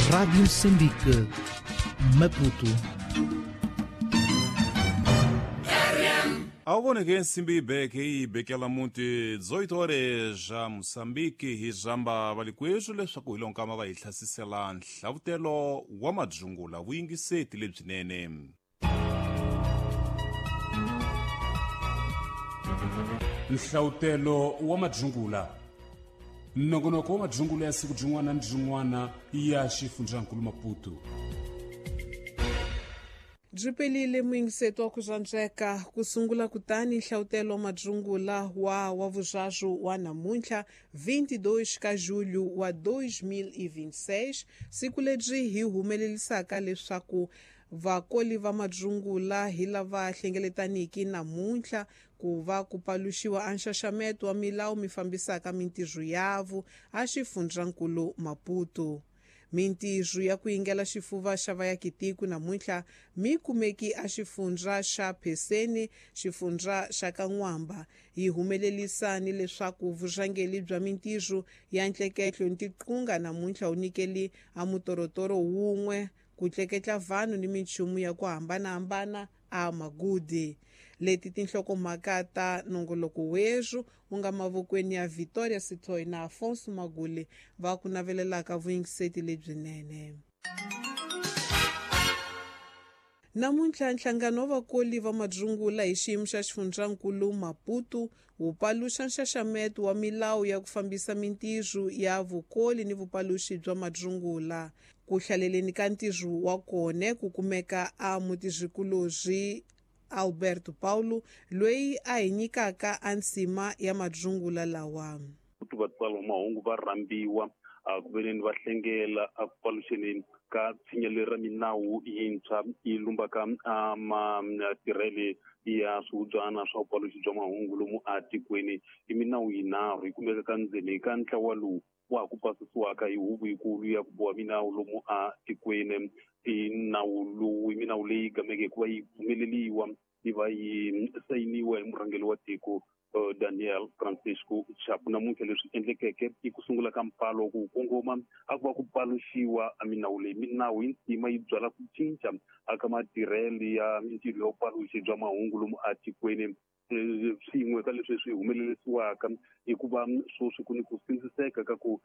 Rádio Moçambique, Maputo. Awuboneke nsimbi ibeke ibekela muti 18 horas ja Moçambique hi zamba valikwethu leswaku hi lonkama va hi hlasisela nhlavutelo wa madzungula vuyingiseti lebyinene. Nhlavutelo wa madzungula nongonoko wa madzungula ya siku byin'wana ni byin'wana ya xifundzankulu Maputo. Byi pelile muyingiseto wa ku zwandzeka ku sungula kutani nhlavutelo wa madzungula wa vuzvazu wa namuntlha 22 ka julho wa 2026, siku lebyi hi humelelisaka leswaku vakoli va madzungula hi lava hlengeletaniki namuntlha ku va ku paluxiwa a nxaxameto wa milawu mi fambisaka mintirho yavo a xifundzankulu Maputo. Mintirho ya ku yingela xifuva xa vayakitiko namuntlha mi kumeki a xifundza xa Pheseni, xifundza xa Kan'wamba. Yi humelelisa ni leswaku vurhangeri bya mintirho ya ntleketlo ni tiqunga namuntlha wu nyikeli a mutorotoro wun'we ku tleketla vanhu ni minchumu ya ku hambanahambana a magudi. Leti tinhlokomhaka ta nongoloko werhu wu nga mavokweni ya Victoria Sithoi na Afonso Maguli va ku navelelaka vuyingiseti lebyinene. Namuntlha nhlangano wa vakoli va madzungula hi xiyimo xa xifundzankulu Maputo wu paluxa nxaxameto wa milawu ya ku fambisa mintirho ya vukoli ni vupaluxi bya madzungula. Ku hlaleleni ka ntirho wa kona ku kumeka a mutirhikulorhi Alberto Paulo loyi a hi nyikaka a nsima ya madzungula lawa. Vatswari va mahungu va rhambiwa ku veneni va hlengela a ku paluxeni ka tshinya leri ra minawu yintshwa yi lumbaka matirhele ya swihubyana swa vupaluxi bya mahungu lomu atikweni. I minawu yinharhu yi kumeka ka ndzeni ka ntlawa lowu wa ha ku pasisiwaka hi huvo yikulu ya ku boha minawu lomu atikweni. I nawu lowu i minawu leyi gameke hikuva yi pfumeleliwa yi va yi sayiniwa hi murhangeri wa tiko Daniel Francisco Chapo. Namuntlha leswi endlekeke i ku sungula ka mpfalo ku kongoma a ku va ku paluxiwa minawu leyi. Minawu yi ntima yi byala ku cinca aka matirhelo ya mintirho ya vupaluxi bya mahungu lomu atikweni. Swin'we ka leswi swi humelerisiwaka i ku va sweswi ku ni ku sindziseka ka ku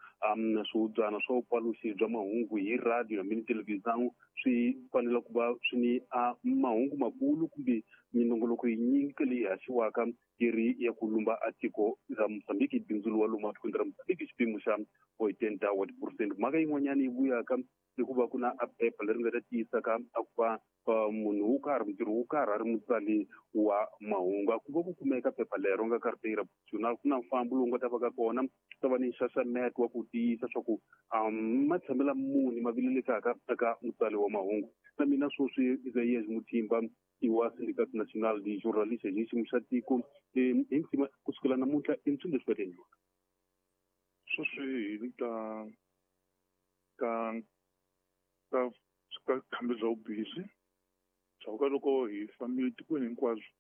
swihubyana swa vupaluxi bya mahungu hi radio hambi ni televhizão swi fanele ku va swi ni mahungu makulu kumbe minongoloko yinyingi leyi haxiwaka yi ri ya ku lumba a tiko ra Mozambique, bindzu wa lomu atikweni ra Mozambique xipimo xa 80 wa tiphurosente. Mhaka yin'wanyana yi vuyaka i ku va ku na a phepha leri nga ta tiyisaka a ku va munhu wo karhi mutirhi wo karhi a ri mutsali wa mahungu. A ku va ku kumeka phepha lero nga carteira profissional, ku na mfambo lowu nga ta va ka kona, ku ta va ni nxaxameto wa ku tiyisa swa ku matshamela muni ma vilelekaka eka mutsali wa mahungu. Na mina sweswi Isaías Mutimba i wa Sindicato Nacional de Jornalistas hi xiyimo xa tiko hi ntsima kusukela namuntlha i mpswi leswi va ta endliwaka. Sweswi hi le ka ka ka khambi bya vubihi bya ka loko hi fambile tikweni hinkwaswo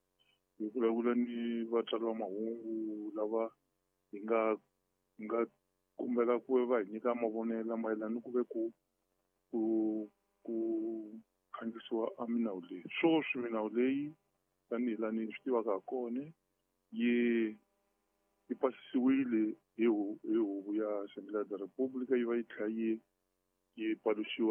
hi vulavula ni vatswari va mahungu lava hi nga kombela ku va hi nyika mavonelo mayelana ni ku ve ku ku ku khandziyisiwa a minawu leyi. Sweswi minawu leyi tanihi laha ni swi tivaka ha kona yi pasisiwile hi huvo ya Assembleia da República yi va yi tlhela yi paluxiwa.